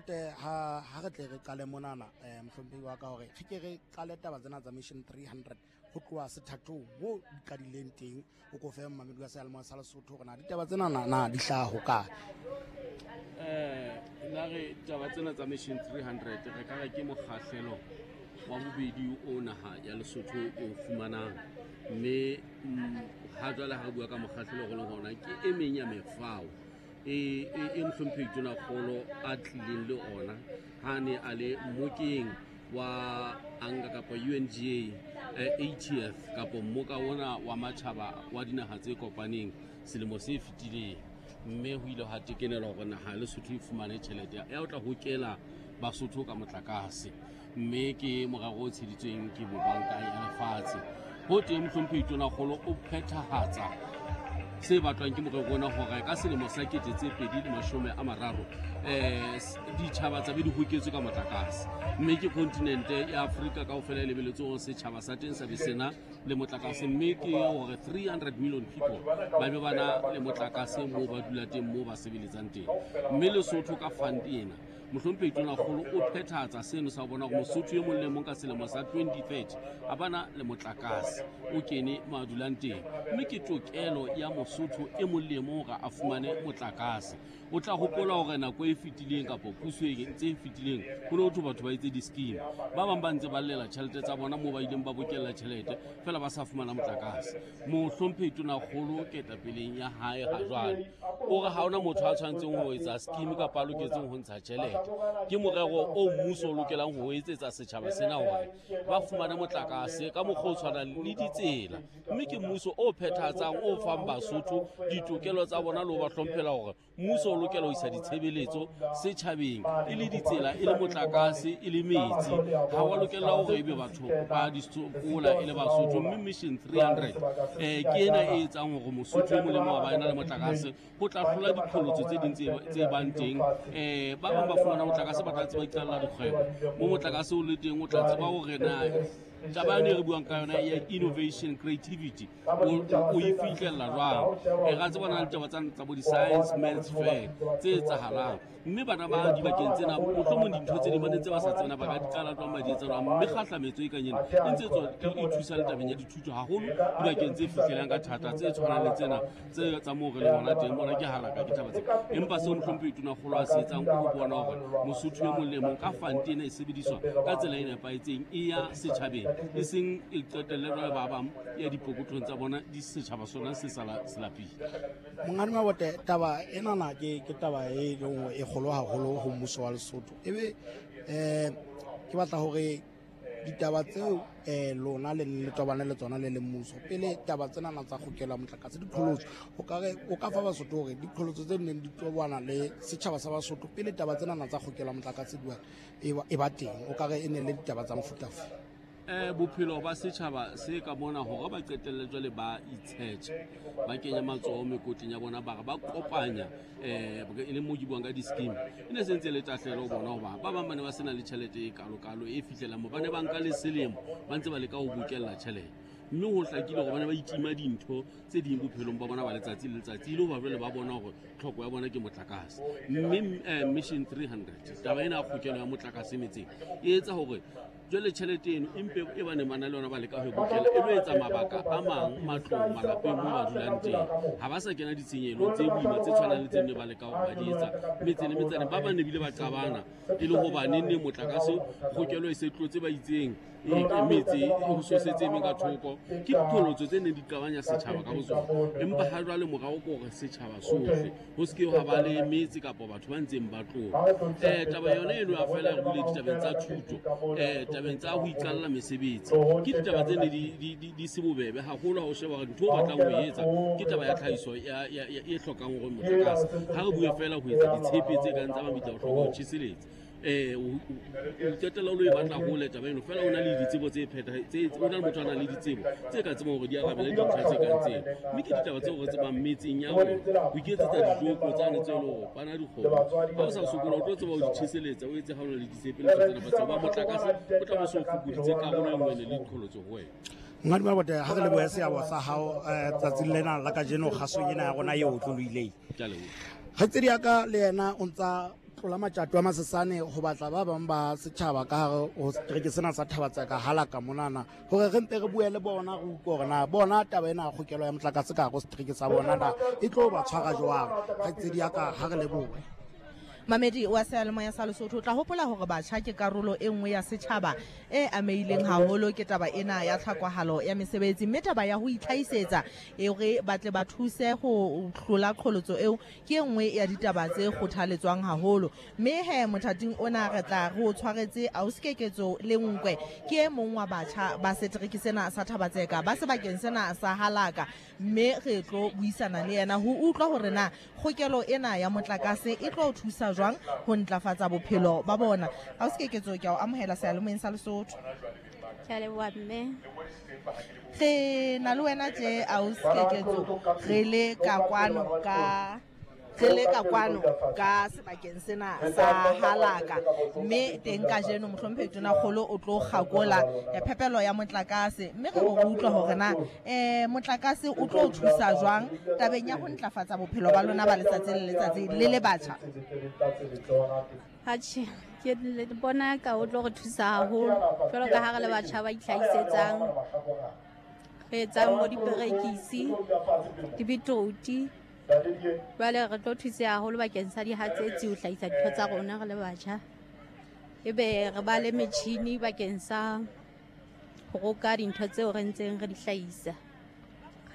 Mabote, ha re tle re qale monana, mohlomphehi wa ka, hore re ke re qale taba tsena tsa Mission 300 ho tloha sethathong moo di qadileng teng. O ko fe mmamedi wa seyalemoya sa Lesotho hore na ditaba tsena na di hlaha ho kae. La re taba tsena tsa Mission 300 re ka re ke mokgahlelo wa bobedi o naha ya Lesotho e o fumanang, mme ha jwale ha re bua ka mokgahlelo go leng hona ke e meng ya mefao e mohlomphehi Tonakgolo a tlileng le ona ha ne a le mmokeng wa anga kapa UNGA ATF kapa mmoka ona wa matjhaba wa dinaha tse kopaneng selemo se fetileng, mme ho ile ha tekenelwa hore naha ya Lesotho e fumane tjhelete ya ho tla hokela Basotho ka motlakase, mme ke morero o tsheditsweng ke bobanka ya lefatshe. Ho teng mohlomphehi Tonakgolo o phethahatsa se batlwang ke morero ona hore ka selemo sa 2030 ditjhaba tsa be di hoketswe ka motlakase, mme ke kontinente ya Afrika kaofela e lebeletse hore setjhaba sa teng sa be sena le motlakase, mme ke hore 300 million people ba be ba na le motlakase moo ba dula teng, moo ba sebeletsang teng. Mme Lesotho ka fund ena, mohlomphehi Tonakgolo o phethahatsa seno sa ho bona hore Mosotho e mong le mong ka selemo sa 2030 a bana le motlakase o kene mo a dulang teng, mme ke tokelo ya Mosotho e mong le mong hore a fumane motlakase. O tla hopola hore nako e fetileng kapa puso e tse fetileng ho ne ho thwe batho ba etse di-scheme, ba bang ba ntse ba llela tjhelete tsa bona moo ba ileng ba bokella tjhelete fela ba sa fumana motlakase. Mohlomphehi Tonakgolo ketapeleng ya hae ha jwale o re ha hona motho a tshwanetseng ho etsa scheme kapa a loketseng ho ntsha tjhelete. Ke morero o mmuso o lokelang ho etsetsa setjhaba sena hore ba fumane motlakase ka mokgwa o tshwanang le ditsela, mme ke mmuso o phethahatsang o fang Basotho ditokelo tsa bona le ho ba hlomphela hore mmuso o lokela ho isa ditshebeletso setjhabeng, e le ditsela, e le motlakase, e le metsi. Ha wa lokela hore ebe batho ba di sokola e le Basotho, mme Mission 300 ke ena e etsang hore Mosotho e molemo wa ba ena le motlakase ho tla hlola diqholotso tse ding tse bang teng. Ba bang ba fumana motlakase ba tla tseba iqalla dikgwebo mo motlakase o le teng, o tla tseba hore na taba yone e re buang ka yona ya innovation creativity o e fihlella jwang. Ra tseba na le taba tsa bo di-science maths fair tse etsahalang, mme bana ba dibakeng tsena mohlomong dintho tse ding ba ne ntse ba sa tsena ba ka di qala jwang, ba di etsa jwang, mme kgahlametso e kang ena e ntse e thusa le tabeng ya dithuto haholo dibakeng tse fihlelang ka thata tse tshwanang le tsena tse tsa moo re leng hona teng. Bona ke halaka ke taba tsena, empa seo mohlomphehi Tonakgolo a se etsang ke ho bona hore Mosotho e mong le mong ka fund ena e sebediswa ka tsela e nepahetseng, e ya setjhabeng, e seng e qetelle jwale ba bang ya dipokothong tsa bona di setjhaba sona se sala se lapile. Monghadi Mabote, taba enana ke taba e leng hore e kgolo haholo ho mmuso wa Lesotho. Ebe ke batla hore ditaba tseo lona le le tobane le tsona le le mmuso pele taba tsena tsa kgokela motlakase diqholotso, o ka re o ka fa Basotho hore diqholotso tse neng di tobana le setjhaba sa Basotho pele taba tsena tsa kgokela motlakase e ba teng, o ka re e ne le ditaba tsa mofuta ofe? Bophelo ba setjhaba se ka mona hore ba qetelle jwale ba itshetjha, ba kenya matsoho mekotleng ya bona, ba re ba kopanya e le moo ke buang ka di-scheme, e ne se ntse le tahlehelo ho bona hoba ba bang ba ne ba sena le tjhelete e kalokalo e fihlelang moo, ba ne ba nka le selemo ba ntse ba leka ho bokella tjhelete, mme ho hlakile hore ba ne ba itima dintho tse ding bophelong ba bona ba letsatsi le letsatsi, e le hoba jwale ba bona hore tlhoko ya bona ke motlakase. Mme Mission 300 taba ena ya kgokelo ya motlakase metseng e etsa hore jwale tjhelete eno empe e ba neng ba na le yona ba leka ho e bokella, e lo etsa mabaka a mang matlong malapeng moo ba dulang teng, ha ba sa kena ditshenyehelo tse boima tse tshwanang le tse nne ba leka hore ba di etsa metse le metsaneng. Ba bang ne bile ba qabana e le hoba neng motlakase kgokelo e se tlotse ba itseng metse e ho sosetse e meng ka thoko, ke diqholotso tse neng di qabanya setjhaba ka botsona. Empa ha jwale morao ke hore setjhaba sohle ho se ke ha ba le metse kapa batho ba ntseng ba tloha. Taba yona eno ya fela re bule ditabeng tsa thuto, tabeng tsa ho iqalla mesebetsi, ke ditaba tse ne di se bobebe haholo ha o sheba hore ntho o batlang ho e etsa ke taba ya tlhahiso e hlokang hore motlakase. Ha re bue fela ho etsa ditshepe tse kang tsa mabitla, o hloka ho tjheseletsa. O qetella o lo e batla hole taba eno, fela o na le ditsebo tse tse o na le motho a nang le ditsebo tse ka tsebang hore di arabele dintlha tse kang tseo, mme ke ditaba tseo re tsebang metseng ya rona ho iketsetsa dijoko tsane tse le hore bana dikgomo ha o sa sokola o tlo tseba ho di tjheseletsa, o etse ha o na le ditshepe le tsena ba tseba motlakase o tla bo so fokoditse karolo e nngwe le diqholotso ho wena. Monghadi Mabote, ha re lebohe seabo sa hao tsatsing lena la kajeno kgasong ena ya rona e otlolohileng. Ke a leboha. Kgaitsedi ya ka le yena o ntsa Tlola matjato a masesane go batla ba bang ba setšhaba ka gare go setereke sena sa Thabatseka halaka monana gore re mpe re bue le bona re utlwe gore na bona taba ena ya kgokelo ya motlakase ka gare go setereke sa bona na e tlo ba tshwara jwang. Kgaitsedi ya ka, ha re lebohe. Mamedi wa seyalemoya sa Lesotho, o tla hopola hore batjha ke karolo e nngwe ya setjhaba e amehileng haholo ke taba ena ya tlhokahalo ya mesebetsi, mme taba ya ho itlhahisetsa e hore ba tle ba thuse ho hlola qholotso eo ke e nngwe ya ditaba tse kgothaletswang haholo. Mme he mothating ona re tla re o tshwaretse Ausi Keketso Lenkwe, ke e mong wa batjha ba setereke sena sa Thabatseka ba sebakeng sena sa Halaka, mme re tlo buisana le yena ho utlwa hore na kgokelo ena ya motlakase e tlo thusa jwang ho ntlafatsa bophelo ba bona. Ausi Keketso, ke a o amohela seyalemoyeng sa Lesotho. Ke a leboha mme. Re na le wena tje Ausi Keketso, re le ka kwano ka re le ka kwano ka sebakeng sena sa Halaka, mme teng kajeno mohlomphehi Tonakgolo o tlo kgakola phepelo ya motlakase, mme re bo re utlwa hore na motlakase o tlo thusa jwang tabeng ya ho ntlafatsa bophelo ba lona ba letsatsi le letsatsi le le batjha. Atjhe, ke le bona ka o tlo re thusa haholo jwalo ka ha re le batjha ba itlhahisetsang, re etsang bo diperekisi, di-beetroot. Jwale re tlo thuseha haholo bakeng sa dihatsetsi ho hlahisa dintho tsa rona re le batjha. Ebe re ba le metjhini bakeng sa ho roka dintho tseo re ntseng re di hlahisa.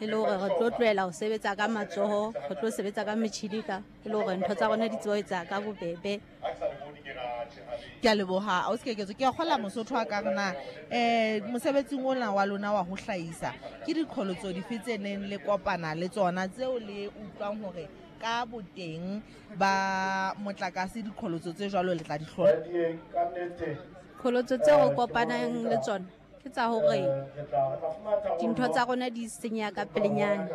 Re le hore re tlo tlohela ho sebetsa ka matsoho, re tlo sebetsa ka metjhini ka e le hore ntho tsa rona di tsebe ho etsaha ka bobebe. Ke a leboha Ausi Keketso. Ke a kgola Mosotho a ka re na mosebetsing ona wa lona wa ho hlahisa ke diqholotso dife tse neng le kopana le tsona tseo le utlwang hore ka boteng ba motlakase diqholotso tse jwalo le tla di hlola? Qholotso tseo re kopanang le tsona ke tsa hore dintho tsa rona di senyeha ka pelenyana,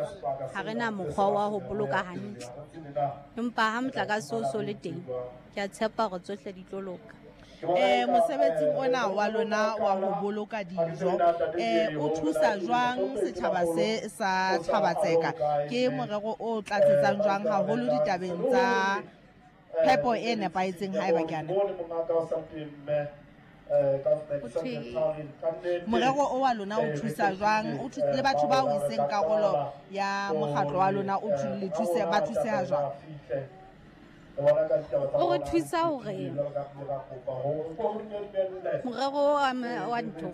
ha re na mokgwa wa ho boloka hantle. Empa ha motlakase o so le teng, ke a tshepa hore tsohle di tlo loka. Mosebetsing ona wa lona wa ho boloka dijo, o thusa jwang setjhaba se sa Thabatseka? Ke morero o tlatsetsang jwang haholo ditabeng tsa phepo e nepahetseng haeba ke a nepa? Morero o wa lona o thusa jwang? O le batho bao e seng karolo ya mokgatlo wa lona o le thuse, ba thuseha jwang? O re thusa hore morero wa ntho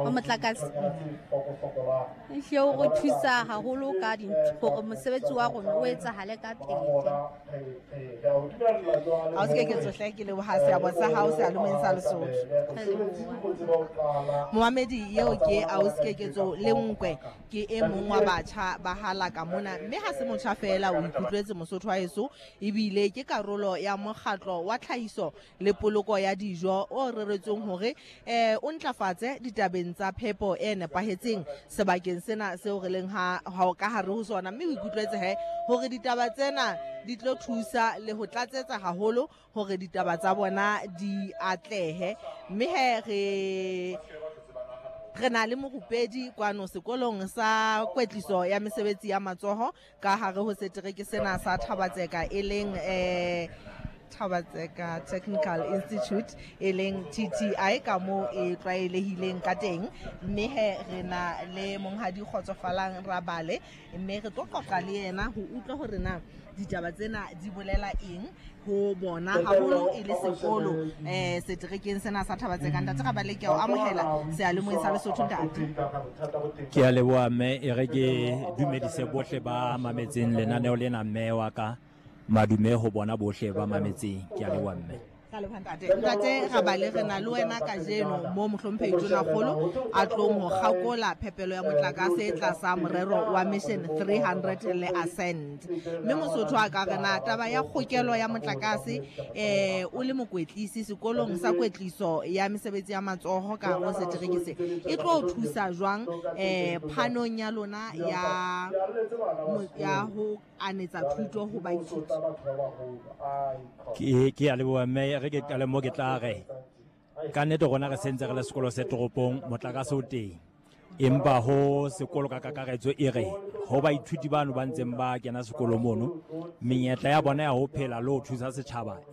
wa motlakase ehlile o re thusa haholo ka dintho hore mosebetsi wa rona o etsahale ka pele. Ausi Keketso hle, ke leboha seabo sa hao seyalemoyeng sa Lesotho. Momamedi eo ke Ausi Keketso Lenkwe, ke e mong wa batjha ba Halaka mona, mme ha se motjha fela, o ikutlwetse Mosotho wa heso, ebile ke karolo ya mokgatlo wa tlhahiso le poloko ya dijo o reretsweng hore o ntlafatse ditabeng tsa phepo e nepahetseng sebakeng sena seo re leng ha ka hare ho sona. Mme o ikutlwetse he hore ditaba tsena di tlo thusa le ho tlatsetsa haholo hore ditaba tsa bona di atlehe. Mme he re na le morupedi kwano sekolong sa kwetliso ya mesebetsi ya matsoho ka hare ho setereke sena sa Thabatseka, e leng Thabatseka Technical Institute, e leng TTI ka moo e tlwaelehileng ka teng. Mme he re na le monghadi Kgotsofalang Rabale, mme re tlo qoqa le yena ho utlwa hore na ditaba tsena di bolela eng ho bona haholo e le sekolo seterekeng sena sa Thabatseka. Ntate Rabale, ke a o amohela seyalemoyeng sa Lesotho, ntate. Ke a leboha mme, e re ke dumedise bohle ba mametseng lenaneo lena, mme wa ka. Madume ho bona bohle ba mametseng. Ke a leboha mme. Ntate, ntate Rabale, re na le wena kajeno mo mohlomphehi Tonakgolo a tlong ho kgakola phepelo ya motlakase tlasa morero wa Mission 300 le Ascent. Mme Mosotho a ka re na taba ya kgokelo ya motlakase, o le mokwetlisi sekolong sa kwetliso ya mesebetsi ya matsoho ka hare ho setereke se, e tlo thusa jwang phanong ya lona ya ho anetsa thuto ho baithuti? Ke a leboha mme, re ke qale mo ke tla re ka nnete rona re sentse re le sekolo se toropong, motlakase o teng, empa ho sekolo ka kakaretso e re ho baithuti bano ba ntseng ba kena sekolo mono, menyetla ya bona ya ho phela le ho thusa setjhaba e